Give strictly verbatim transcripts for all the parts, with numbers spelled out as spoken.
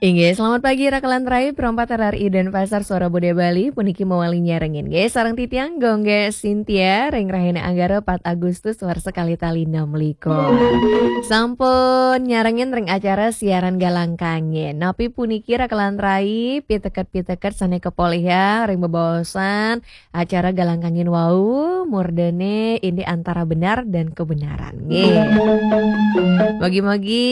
Inggih, selamat pagi Rakelan Rai, Pro empat R R I Denpasar, Suara Budaya Bali, puniki mawali nyarengin nggih sareng titiang Gung Gek Sintia ring rahina Anggara pat Agustus warsa kalih tali enam likur. Sampun nyarengin ring acara siaran Galang Kangin. Napi puniki Rakelan Rai, piteket-piteket sane kapolihang ring bebaosan acara Galang Kangin wau, murdane indik antara benar dan kebenaran. Nggih. Mugi-mugi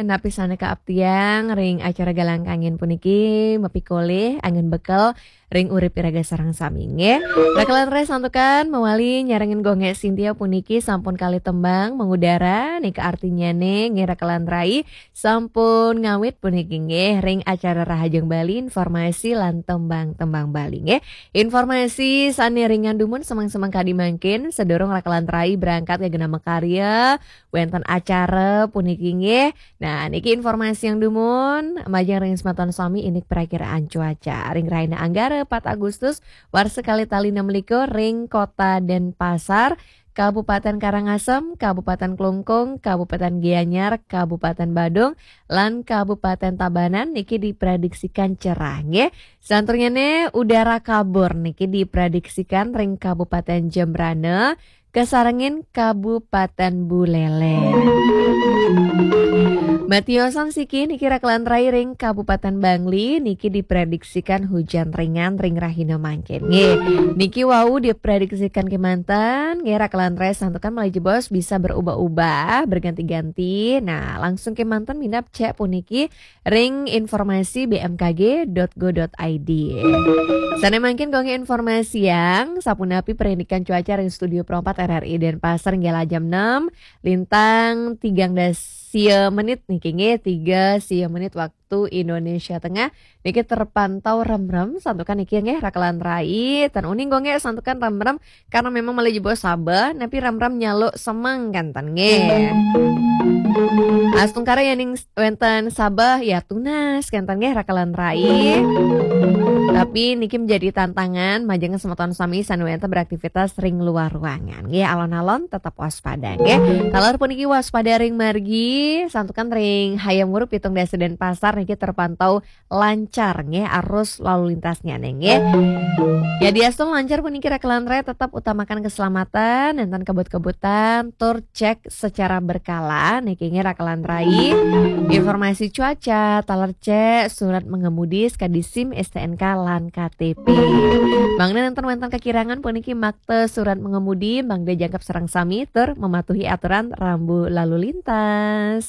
napi sane kaaptiang ring acara Galang Kangin puniki mapikolih anggen bekel ring urip iraga sareng sami nggih. Rakelan Rai santukan mawali nyarengin Gung Gek Sintia puniki sampun kalih tembang mengudara, nika artinyane nggih Rakelan Rai sampun ngawit puniki nggih ring acara Rahajeng Bali, informasi lan tembang-tembang Bali nggih. Informasi sane ringan dumun semeng-semeng kadi mangkin sadurung Rakelan Rai berangkat ka genah makarya wenten acara puniki nggih. Nah, niki informasi yang dumun majeng ring semeton sami indik perakiraan cuaca ring rahina Anggara pat Agustus warsa kalih tali enam likur ring Kota Denpasar, Kabupaten Karangasem, Kabupaten Klungkung, Kabupaten Gianyar, Kabupaten Badung, lan Kabupaten Tabanan niki diprediksikan cerah nggih. Santurnyane udara kabur niki diprediksikan ring Kabupaten Jembrana, kasarengin Kabupaten Buleleng. Matiosan siki niki Rakelan Rai ring Kabupaten Bangli niki diprediksikan hujan ringan ring rahina mangkin. Nggih, niki wau diprediksikan kemanten, nggih Rakelan Rai santukan malih jebos bisa berubah-ubah, berganti-ganti. Nah, langsung kemanten minab cek puniki ring informasi B M K G dot go dot I D. Sane mangkin Gung Gek informasiang, sapunapi parindikan cuaca ring Studio Pro empat R R I Denpasar nggih jam enam, lintang tigang dasa menit niki nggih, tiga sia menit waktu Indonesia Tengah. Niki terpantau remrem, santukan niki nggih Rakelan Rai, tan uning Gung Gek santukan remrem, karena memang malih jebos Sabah, napi remrem nyaluk semeng kenten nggih. Astungkara yening wenten Sabah ya tunas kenten nggih Rakelan Rai. Tapi niki menjadi tantangan majeng semeton sami sane wenten beraktivitas ring luar ruangan nggih, alon-alon tetap waspada nggih. Taler puniki waspada ring margi, santukan ring Hayam Wuruk pitung dasa Denpasar niki terpantau lancar nggih arus lalu lintasnya nggih. Ya diastun lancar puniki Rakelan Rai, tetap utamakan keselamatan, nenten kebut-kebutan, tur cek secara berkala niki nggih Rakelan Rai. Informasi cuaca, taler cek, surat mengemudi, sekadi SIM, S T N K lan K T P. Mangda nenten wenten kekirangan puniki makta surat mengemudi, mangda jangkep sareng sami tur mematuhi aturan rambu lalu lintas.